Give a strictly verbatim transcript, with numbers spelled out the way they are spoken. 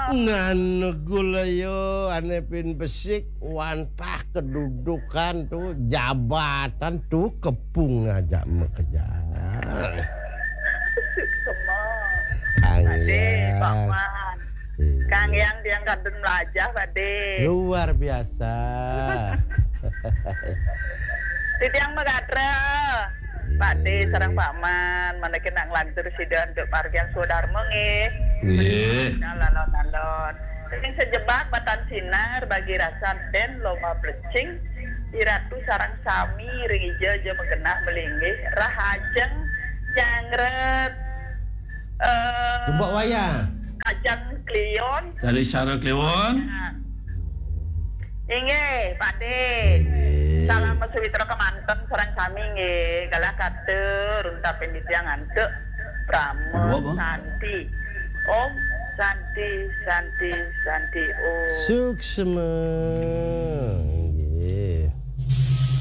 Nganu gula yo, ane pin besik, wantah kedudukan tu, jabatan tu, kepung aja makejang. Kang Ade, Yang. Pak Man. Iya. Kang Yang tiang kadun melajah, Pak De. Luar biasa. Titiang magatra. Pak De sareng Pak Man, mangkin nak nglantur sida antuk pargiang swadarma nggih. Nggih. Alon-alon. Sing sejebak batan sinar bagi rasan den lomba plecing. Iratu sareng sami ring ija ja magenah malinggih rahajeng jangret. Eh, Gembok wayah. Kajang Kliwon. Dari Sarah Kliwon. Inggih, Pak De. Inggih. Salam sawitra kemanten sareng sami nggih. Galah katur untapin titiang antuk Prama Santi. Om Santi, Santi, Santi Om. Suksma.